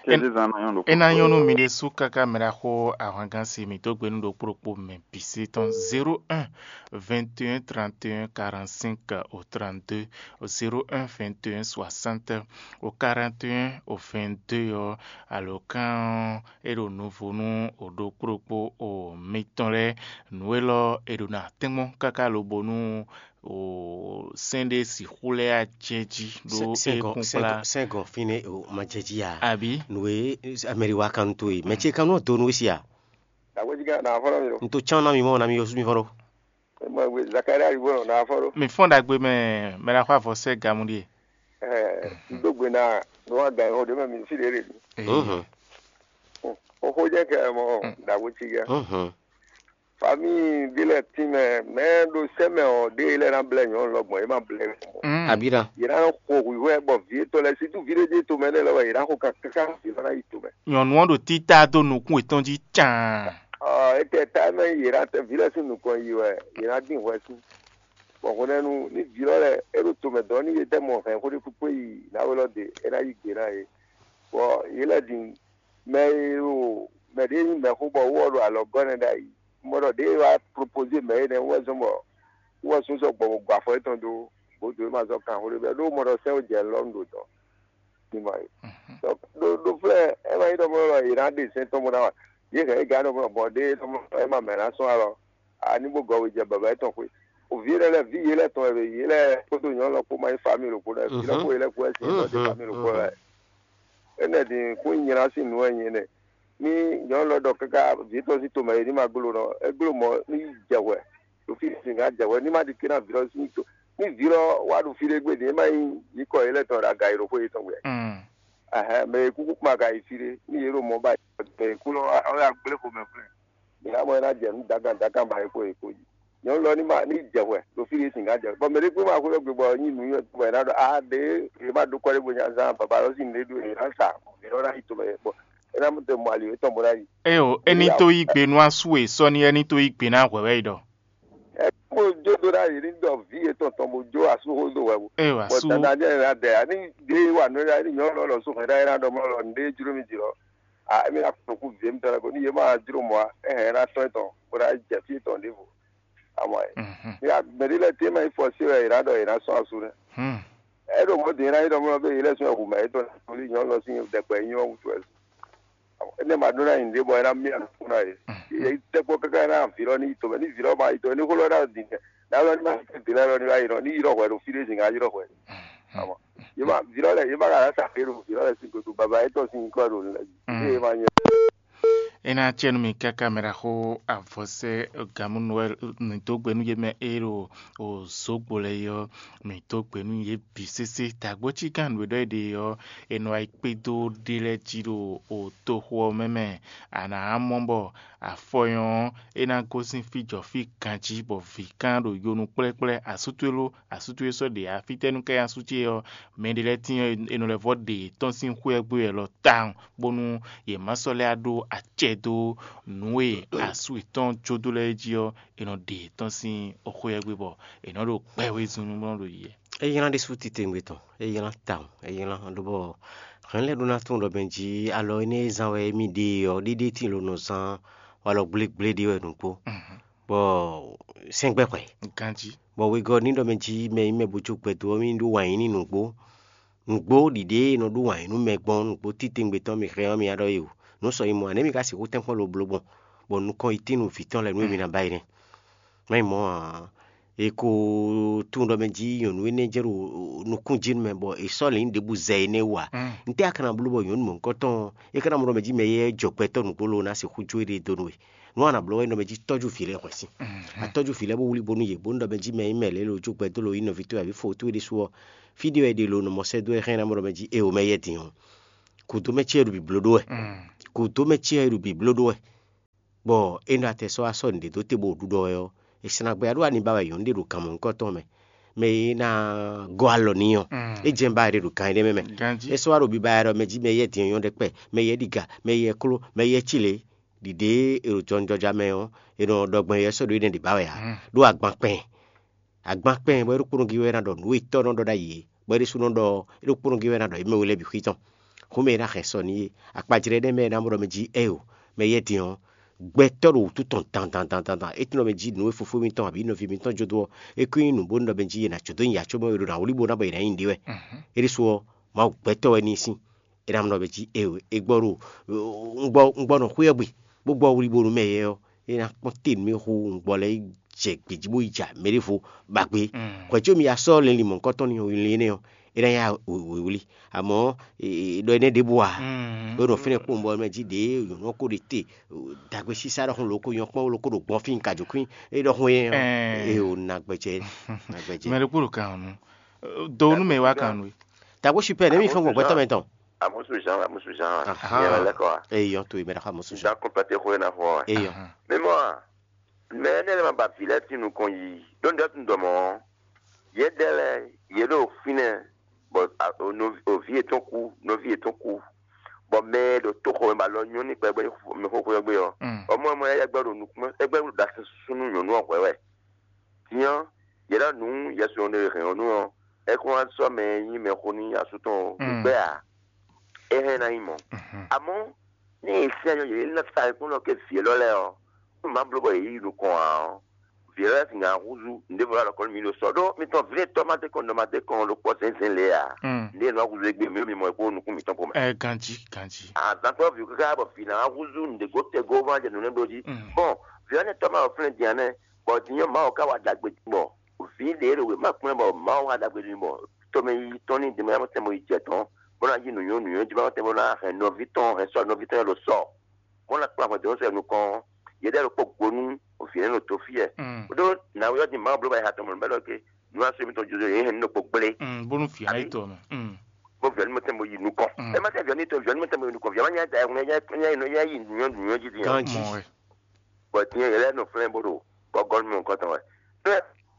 Kézezán ná nyɔ́ ɖo É ná nyɔ́ nú mi ɖésú káká mɛ ɖaxó ahwangán si mǐ dó gbe nú ɖokpó ɖokpó mɛ bǐ sí tɔn zéro un vingt et un trente et un quarante cinq au trente-deux, zéro un vingt et un soixante au quarante et un au vingt-deux ɔ́, alǒkan ɔ́ é ɖo nuvo nú ɖokpó ɖokpó mitɔn lɛ́ɛ. Nǔ élɔ́ è ɖǒ ná tɛ́nkpɔ́n káká lobo nú sɛ́n ɖé sixú lɛ́ acɛ́ jí ɖó é kún kplá. Sɛ́ngɔ fínɛ́ ma jɛ jí a? Abǐ? Nǔ e mɛ ɖi wa kan to e mɛ ce kan nɔ do nú we si a? Dàgbéjìgá nà fɔlɔ mi o. N to cán ná mi mɔ ná mi yɔ sú mi fɔlɔ. Mɔ gbe Zakaria yi bɔ nà fɔlɔ. Mi fɔ́n ɖagbe mɛ mɛ ɖaxó avɔ sɛ́ gamu ɖíe. Ɛ n dó gbe ná nú wa gǎn o ɖé mɛ mi sí ɖě ɖe. Ee. Oxó jẹ́ kɛ mɔ dàgbéjìgá. Famíi ɖé lɛ́ɛ tínmɛ mɛ ɖo sɛ́ mɛ ɔ́, ɖé lɛ́ɛ ná blɛ́ nyɔ̌nu lɔ gbɔn é má blɛ́. Abira. Yě ná xo hwǐhwɛ́ bɔ vǐ étɔn lɛ́ɛ sítú vǐ ɖé jɛ tomɛ lɛ́ɛ lɔ wɛ yě ná xo kan káká vǐ lɔ ná yi tomɛ. Nyɔ̌nu ɔ́ ɖo títá dó nukún yětɔn jí caan. Ɔ étɛ́ ta mɛ yě ná tɛ vǐ lɛ́ɛ sín nukɔn yi wɛ yě ná dín hwɛ sín. Bɔ hwenɛ́nu ní vǐ lɔ lɛ́ɛ é ɖo tomɛ dɔn ní yě tɛ mɔ hɛn xó ɖé kpékpé yi nǎwe lɔ ɖe é ná yí gbe ná yě. Bɔ yě lɛ́ din mɛ e ɖo mɛ ɖé nyí mɛxó bɔ wú ɔ́ ɖo alɔ gɔ́ nɛ́ ɖ'ayǐ. Un mɔ ɖɔ ɖěe wá propozé mɛ énɛ́ wú wɛ zɔ́n bɔ wú wɛ súnsɔ gbɔ bɔ gbɔ afɔ yětɔn dó bǒ dǒ é ma zɔ́ kan xó ɖé bɛ́ ɖó un mɔ ɖɔ sɛ́n wó jɛ lɔ un ɖo dɔ̌. Ní ma yi. Ɖo ɖo flɛ́ é ma nyí ɖɔ mɔ ɖɔ yě ná ɖe sɛ́n tɔn bó ná wa. Yě hɛn é gǎn ɖɔ mɔ bɔ ɖěe ɖɔ mɔ é ma mɛ ná sɔ́ alɔ. A ní bó gɔ́ wejɛ baba yětɔn xwé. Vǐ énɛ́ lɛ́ɛ vǐ yě lɛ́ɛ tɔn wɛ yě lɛ́ɛ kpódó nyɔ̌nu lɔ kpó ma nyí famíli ɖokpó lɛ́ɛ. Vǐ lɔ kpó yě lɛ́ɛ kpó wɛ sin bɔ ɖé famíli ɖokpó wɛ. Énɛ́ din kún nyi nylá sín nǔ wɛ nyí énɛ́. Ní nyɔ̌nu lɔ ɖɔ káká vǐ tɔn sín tomɛ é ní ma gló nɔ, é gló mɔ̌ ní yi jɛ hwɛ ɖo fí sin ká jɛ hwɛ ní ma ɖi ké ná vǐ lɔ sín to. Ní vǐ lɔ wá ɖo fí ɖé gbe din é má nyí nyǐkɔ yě lɛ́ɛ tɔn ɖo aga yi ɖo xwé yětɔn wɛ. Ɛhɛn, mɛ e kúkú kpán ka yi fí ɖé ní yě ɖo mɔ̌ ba mɛ e kú lɔ ɔ́ ya gblé xomɛ flɛ́. Mǐ ná mɔ é ná jɛ nǔ dagan dagan ba e kpo e kpo jí. Nyɔ̌nu lɔ ní ma ní jɛ hwɛ ɖo fí ɖé sin ká jɛ hwɛ. Bɔ mɛ ɖé kpé ma xwé ɖɔ gbe bɔ nyí nǔ nyɔ́ bɔ è ná ɖɔ a ɖě è má ɖó kɔ́ ɖé bo nya zán baba lɔ sín nǔɖé ɖó è ná sa è nɔ ná yi tomɛ bɔ é ná mɔ te mɔ ali yětɔn bó ná yi. Ée o, é ní tó yí gbe nú asú e sɔ́ ní é ní tó yí gbe ná hwɛ̌ wɛ é ɖɔ. Ɛ kpó jó dó ná yě ní ɖɔ vǐ yětɔn tɔn bó jó asú xó dó hwɛ bó. Ée o, bɔ asú. Dada ní ɛ ná dɛ a ní ɖé wa nǔ ɛ ní nyɔ̌nu lɔ só hɛn ɖá é ná ɖɔ mɔ lɔ nǔɖé jló mì jǐ lɔ. A émí ná kplɔ́n kú vǐ émítɔn lɛ́ɛ ko ní yě ma jló mɔ̌ ǎ, é hɛn é ná tɔ́n tɔn bó ná jɛ fí tɔn ɖěvo. Amɔ ɛ. Ní mɛ ɖé lɛ́ɛ tɛ́ ma nyí fɔsé wɛ è nǎ ɖɔ è nǎ sɔ́ asú nɛ́. É ɖo mɔ̌ din é ná nyí ɖɔ mɔ bé yě lɛ́ sún ɛ hu mɛ yětɔn ná tlí nyɔ̌nu lɔ sín ɖɛkpɛ nyí ɔ́ wútu wɛ. É nɛ́ ma ɖó ná nyi nǔɖé bɔ é ná mì anukún ná yě. Yě tɛ́ kpɔ́ káká é ná vǐ lɔ ní yi tomɛ ní vǐ lɔ ma yi tomɛ ní xó lɔ ná ɖo din tɛ. Ná lɔ ní ma tɛ́ din lɛ́ɛ lɔ ní wá yi nɔ ní yi ɖɔ hwɛ ɖo fí ɖé zǐn ká yi ɖɔ hwɛ. Amɔ yě ma vǐ lɔ lɛ́ɛ yě ma ka ná sa xé ɖo vǐ lɔ lɛ́ɛ sín gbe ɖo baba étɔn sín nyǐkɔ ɖo nǔ lɛ́ɛ jí. Ée é ma nyɛ. É ná acɛ nú mi káká mɛ ɖaxó avɔsɛ́ Gamu Noɛl mǐ dó gbe nú yě mɛ e ɖo zǒgbo lɛ́ɛ é ɔ́, mǐ dó gbe nú yě bǐ sésé. Dǎgbó cí gán nǔ e ɖɔ é ɖe ɔ́, è nɔ wá yi kpédó ɖé lɛ́ɛ jí ɖo toxo ɔ́ mɛ mɛ. A nǎ mɔ bɔ afɔ nyɔ ɔ́, é ná gosín fí jɔ fí ganjí bɔ vǐ kán ɖo yonu kplɛ́kplɛ́ asú towe ló, asú towe sɔ́ ɖe ǎ. Fítɛ́ nú ká nyí asú ce ɔ́? Mɛ ɖé lɛ́ɛ tíin ɔ́, è nɔ lɛ́ vɔ́ ɖe yětɔn sín xwé ɔ́ gbé wɛ lɔ tawun, bónú yě má sɔ́ lɛ́ ɖó acɛ dó nǔ e asú yětɔn jó dó lɛ́ɛ jí ɔ́, è nɔ ɖe yětɔn sín xwé ɔ́ gbé bɔ è nɔ ɖo kpɛ́ wezun nú bɔ nɔ ɖo yiyɛ. É nylá ɖésú titewungbe tɔn, é nylá tawun, é nylá lobɔ hɛ̌n lɛ́ɛ ɖó ná tunwun ɖɔ mɛ jí alɔ énɛ́ e zán wɛ émí ɖe ɔ́, ɖéɖé tíin lo nɔ zán walɔ gblégblé ɖé wɛ nǔgbó, bɔ sɛ́ngbɛ́ hwɛ. Ganjí. Bɔ wegɔ́ ní ɖɔ mɛ jí mɛ nyí mɛ bó jó gbɛdó ɔ́, mì ɖó wǎn yí n'i nǔgbó. Nǔgbó ɖiɖě e nɔ ɖó wǎn yí nú mɛ gbɔn nǔgbó titewungbe tɔn mì hɛn ɔ́, mi ná ɖɔ é o. Nǔ sɔ nyí mɔ̌ ǎ, nɛ̌ mi ka sixú tɛ́nkpɔ́n lobló gbɔn, bɔ nukɔn yi tín nú vǐ tɔn lɛ́ɛ nú émí ná ba yi nɛ́? Má nyí mɔ̌ ǎ. È ko tunwun ɖɔ mɛ jí nyɔ̌nu énɛ́ jɛ ɖo nukún jí nú mɛ, bɔ è sɔ́ lǐn ɖěbǔ zɛ énɛ́ wú ǎ. Ntɛ́ a ka ná bló bɔ nyɔ̌nu mɔ̌hunkɔtɔn é ka ná mɔ ɖɔ mɛ jí mɛ éyɛ́ jɔ gbɛtɔ́ nǔgbó ló ná sixú jó éɖée dó nú we? Nǔ a nǎ bló wɛ nyí ɖɔ mɛ jí tɔ́jú vǐ lɛ́ɛ hwɛ̌ sín. A tɔ́jú vǐ lɛ́ɛ bó wlí bónú yě, bónú ɖɔ mɛ jí mɛ nyí mɛ lě lo jó gbɛdó lo nyí nɔví towe abǐ fo towe ɖésú ɔ́, fí ɖé wɛ è ɖe lo nɔ mɔ sɛ́ dó wɛ hɛn ná mɔ ɖɔ mɛ jí e o mɛ yɛ din ɔ́. Kǔdó mɛ ce wɛ ɖo bǐbló ɖó wɛ. Kǔdó mɛ ce wɛ ɖo bǐbló ɖó wɛ. Bɔ é nɔ atɛ sɔ́ wá sɔ́ nǔɖé dó te bó ɖuɖɔ wɛ ɔ́, è sina gbɛ ɖó ani ba wɛ nyɔ̌nu ɖé ɖo gan mɔ̌hunkɔtɔn mɛ, mɛ e ná gɔ́ alɔ n'i ɔ́, é jɛ́n ba wɛ ɖo gan énɛ́ mɛ mɛ. É sɔ́ wá ɖo biba wɛ ɖɔ mɛ jí mɛ yɛ din ɔ́ nyɔ́ ɖɛkpɛ, mɛ yɛ ɖiga, mɛ yɛ kló, mɛ yɛ cí lě. ɖiɖe e ɖo jɔnjɔja mɛ ɔ́, è nɔ ɖɔ gbɔn yɛ sɔ́ ɖo énɛ́ ɖě ba wɛ ǎ. Ɖó agban kpɛn, agban kpɛn bɔ é ɖokpónɔ gí wɛ ná ɖɔ nǔ e tɔ́ nɔ ɖɔ ɖ'ayǐ é, bɔ é ɖésú nɔ ɖɔ é ɖokpónɔ gí wɛ ná ɖɔ émɛ́ we lɛ́ɛ bǐ xwí tɔn. Xó mɛ e ná hɛn sɔ n'i é, akpajlɛ́ énɛ́ mɛ e ná mɔ ɖɔ mɛ jí ɛ o, mɛ yɛ́ din ɔ́, gbɛtɔ́ ɖo wǔtu tɔn dandan dandan dandan, é tunɔ mɛ jí nǔ e fofó mitɔn abǐ nɔví mitɔn jó dó ɔ́, é kún nyí nǔ bónú ɖɔ mɛ jí è nǎ jó dó nyi acómɔ e è ɖo ná wlí bó ná bɔ è nǎ nyi ɖě wɛ. É ɖésú ɔ́, Mawu gbɛtɔ́ wɛ n'i sín. É ná nɔ mɛ jí e e gbɔ ɖo un gbɔ un gbɔ nɔ xwé ɔ́ gbe, bó gbɔ wlí bónú mɛ yɛ ɔ́, é ná kpɔ́n te nú mì hú un gbɔ lɛ́ɛ yi jɛ gbějí bó yi ja mɛ ɖěvo ba gbé. Hwɛ̌ có mi ya sɔ́ lɛnlin mɔ̌hunkɔtɔn ní linlin énɛ́ ɔ́, é ná ya wěwlí. Amɔ̌ ɖɔ énɛ́ ɖěbǔ ǎ, bó nɔ fínɛ́ kpowun bɔ mɛ jí ɖě nyɔ̌nu ɔ́ ko ɖe te dagbe sísá ɖɔhun lǒ ko nyɔ́ kpɔ́n lǒ ko ɖo gbɔn fí un ka jǒ kwín é ɖɔhun é ɔ́, é o nagbɛjɛ nagbɛjɛ. Mɛ ɖokpó ɖo kan ɔ́ nu. Do nú mɛ e wá kan nú we. Dagbo super ne mi fɛn gbɔn gbɛtɔ mɛ tɔn. Amusu Jean, Amusu Jean. Aha. Yɛ lɛ kɔ. Eye yɔn to yi mɛ ɖe xa Amusu Jean. Jean kɔmpɛtɛ xo na fɔ. Eye yɔn. Mɛ mɔ a, mɛ ne lɛ ma ba vi lɛ ti nukɔn yi. Don dɛ tun dɔmɔ. Yɛ dɛ lɛ, yɛ ɖo finɛ. Bɔ ovi yetɔn ku, nɔvi yetɔn ku. Bɔ mɛ ɖo to xɔ mɛ ba lɔ nyɔ ni kpɛ gbɛ mɛ xo xo gbɛ yɔ. Ɔmɔ mɔ yɛ gbɛ ɖo nukun, gbɛ ɖo dasi sunu nyɔnu ɔhwɛ wɛ. Din ɔ́, yě ɖɔ nǔ Yɛsu ɔ́ ɖo hɛn ɔ́ nu ɔ́, é kún wá sɔ́ mɛ e nyí mɛxó nú asú tɔn ɔ́ gbɛ́ ǎ. É hɛn ná nyí mɔ̌. Amɔ̌, ní è sɛ́n nyɔ yě ná sa ayikún nɔ ké vǐ élɔ́ lɛ́ɛ ɔ́, nú mǎ bló bɔ yě yi nukɔn ǎ ɔ́, vǐ élɔ́ lɛ́ɛ sixú ná húzú nǔɖévo ɖo alɔ kɔn nú mì ɖo sɔ ɖó mitɔn vǐ e tɔ́ ma dé kɔn nɔ ma dé kɔn ɖo kpɔ́ zɛ̌nzɛ̌n lě ǎ. Nǔɖé e nɔ wá húzú égbé mi ɖo mi mɔ é kpó nukún mǐtɔn kpó mɛ. Ɛ ganjí ganjí. Azǎn kpɔ́ vǐ káká bɔ vǐ ná húzú nǔɖé gó tɛgó ván jɛ nǔ nɛ́ bló jí. Bɔn vǐ ɔ́ nɛ́ tɔ́ ma ɖo fínɛ́ din ǎ nɛ́, bɔ din ɔ́ Mawu ka wa ɖagbe din bɔ vǐ ɖě e ɖo wěma kplɔ́n bɔ Mawu wa ɖagbe din bɔ tomɛ yi tɔn ní din mɛ tɛn bo yi jɛ tɔn, bó ná yí nǔnywɛ́ nǔnywɛ́ jí bó ná tɛn bó ná hɛn nɔví tɔn hɛn sɔ́ nɔví tɔn lɛ́ɛ ɖo sɔ́, bó ná kplɔ́n ahwan dɔ̌n sɔ́ nukɔn ɔ́, yě ɖɛ́ ɖokpó go nú vǐ nɛ́ ɖo dǒ fí wɛ. Ɖó nǎwe ɔ́ din Mawu bló bɔ è ha tɔn mɔ̌ bɔ é ɖɔ ké nǔ asú émítɔn jójó yě hɛn nú ɖokpó gblé. Bónú vǐ ɔ́ ná yi to ɔ́ mɛ. Bó vǐ ɔ́ ní mɔ tɛn bo yi nukɔn. Ɛ má tɛ vǐ ɔ́ ní to vǐ ɔ́ ní mɔ tɛn bo yi nukɔn, vǐ ɔ́ má nyá da ɛhun nyá yi nǔnywɛ́ nǔnywɛ́ jí din. Ganjí. Mɔ wɛ. Bɔ din yɛ yɛ lɛ́ nɔ flɛ́n bó ɖo gɔ́gɔ́ nú mɔ nukɔn tɔn wɛ.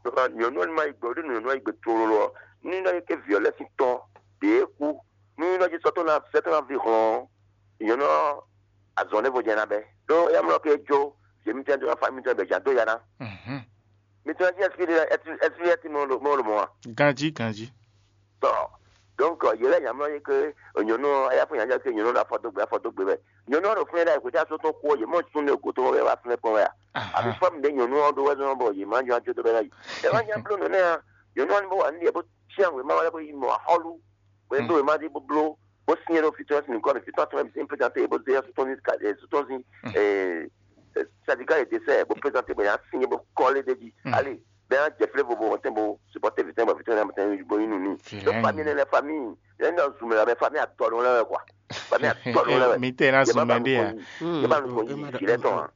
Ɖó nyɔ̌nu ɔ́ ní ma yi gbe, ɖó nyɔ̌nu ɔ́ yi gbe tlóló ɔ́, ní nɔ nyi ké vǐ ɔ́ lɛ́ sín tɔn ɖě kú, ní nɔ jí sɔ́ tɔn ná sɛ́ tɔn ná ví hlɔ́n ɔ́, nyɔ̌nu ɔ́ azɔn ɖěvo jɛ ná bɛ́. Ɖó éyɛ́ mlɔ́ ké jó, yě mítɛn dó ná fá mítɔn bɛ jǎ dó ya ná. Mítɔn jí ɛsipí ɖé ɛsipí ɛsipí mɔ ɖo mɔ ɖo mɔ a? Ganjí ganjí. Tɔ donc yě lɛ́ nyamlɔ yí ké nyɔ̌nu ɔ́, éyɛ́ fó nyanya ké nyɔ̌nu ɔ́ ɖo afɔ dó gbe afɔ dó gbe wɛ. Nyɔ̌nu ɔ́ ɖo fúnɛ́ ɖ'ayǐ xwetɛ́ asó tɔn kú ɔ́, yě mɔ súnnu e gǒ tɔn bɔ é wá fúnɛ́ kpɔ́n wɛ a? Abǐ fɔ́ mǐɖé nyɔ̌nu ɔ́ ɖó wɛ zɔ́n bɔ yě má nyɔ́ ajó dó bɛ́ ná yi. É wá nya bló nǔ nɛ́ a? Nyɔ̌nu ɔ́ ní bó wa nǔ ɖiɖe bó cyán wěma wá lɛ́ bó yi mɔ axɔ́lú. Bó e bló wěma ɖé bó bló, bó syɛ́n ɖó fítɔ́ sín nǔkɔn mɛ, fítɔ́ tɔn mɛ bǐ sín présenté bó zé sútɔ́ sín sadika e desɛ bó présenté bó yá sín bó kɔlé ɖé jí. Allez, bɛ yá jɛ flé vovo mɔtɛn bó supporté vǐtɛn bɔ vǐtɛn mɔtɛn bó yí nǔ n'i. Donc famille ne lɛ famille, yɛn nɔ zun mɛ la mɛ famille atɔ ɖo lɛ wɛ quoi. Famille atɔ ɖo lɛ wɛ. Mi tɛ na zun mɛ ɖe ya. Yɛ ba nu ko yi vǐ lɛ tɔn a.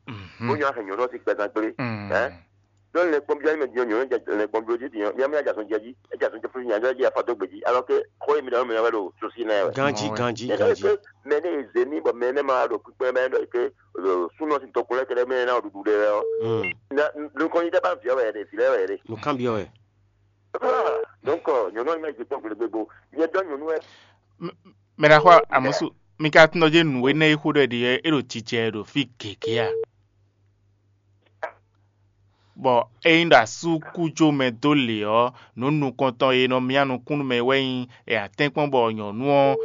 Bó nyɔ ahɛ nyɔ lɔ si gbɛzan gblé. Hein? Donc lɛ kpɔn biɔ mɛ diɔ nyɔ lɛ kpɔn biɔ ji diɔ. Nyɔ mi ajasun jɛ ji, ajasun jɛ fún nyɔ jɛ afa dó gbèjì. Alors que xɔ mi dɔn mi wɛ lo sosi nɛ wɛ. Ganji ganji ganji. Mɛ ne zeni bɔ mɛ ne ma ɖo kpikpɛ mɛ ɖɔ ke sunɔ si tɔkun lɛ kɛɖɛ mɛ na ɖuɖu ɖe wɛ ɔ. Nukɔn yi tɛ ba viɔ wɛ ɖe, vi lɛ wɛ ɖe. Nukàn biɔ wɛ. Donc nyɔnu ɔni ma yi gbekpɔn gbeɖegbe bo. Nyɛ dɔ nyɔnu wɛ. Mɛ ɖaxɔ amusu, mi ka tunɔ dze nǔ énɛ́ e xó ɖɔ ɖi é ɖo jijɛ ɖo fí gěgé a? Bɔ ényí ɖo asú kú jó mɛ dó lě ɔ́, nǔ nukɔntɔn e nɔ myá nukúnnú mɛ wɛ nyí è atɛ́nkpɔ́n bɔ nyɔ̌nu ɔ́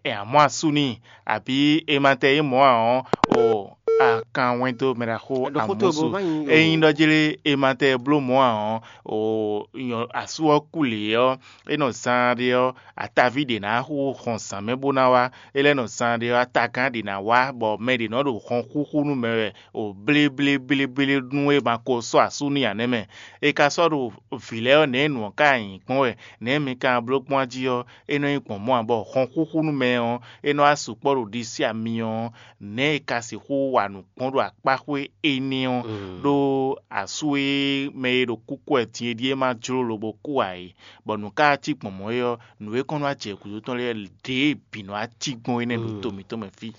è amɔ̌ asú n'i, abǐ è ma tɛ é mɔ̌ ǎ ɔ́, o a kan wɛn dó mɛ ɖaxó amúsu. Ényí ɖɔ jlé è ma tɛ bló mɔ̌ ǎ ɔ́, o asú ɔ́ kú lě ɔ́, é nɔ zaan ɖe ɔ́, ataví ɖě ná xo hɔn zǎn mɛ bó ná wá. É lɛ́ nɔ zaan ɖe ɔ́, atagán ɖě ná wá, bɔ mɛ ɖě nɔ ɖo hɔn xúxú nú mɛ wɛ o bléblébléblé nú é ma ko sɔ́ asú n'i ǎ nɛ́ mɛ. È ka sɔ́ ɖo vǐ lɛ́ɛ ɔ́, nɛ̌ nǔ ɔ́ ka nyǐ gbɔn wɛ, nɛ̌ mi ka bló gbɔn jí ɔ́, é nɔ nyí gbɔn mɔ̌ ǎ, bɔ hɔn xúxú nú mɛ ɔ́, é nɔ wá sukpɔ́ ɖo ɖisí ami ɔ́, nɛ̌ è ka sixú wa nǔ gbɔn ɖo akpáxwé énɛ́ ɔ́, ɖó asú e mɛ e ɖo kúkú wɛ din é ɖíe ma jló lobo kú ǎ é, bɔ nǔ ka cí gbɔn mɔ̌ é ɔ́, nǔ e kɔn nɔ wá jɛ gǔdo tɔn lɛ́ɛ ɖěe bǐ nɔ wá cí gbɔn énɛ́ ɖo to mǐtɔn mɛ fí.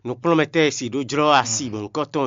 Nǔkplɔ́nmɛtɔ́ e si ɖó jlɔ́ asi mɔ̌hunkɔtɔn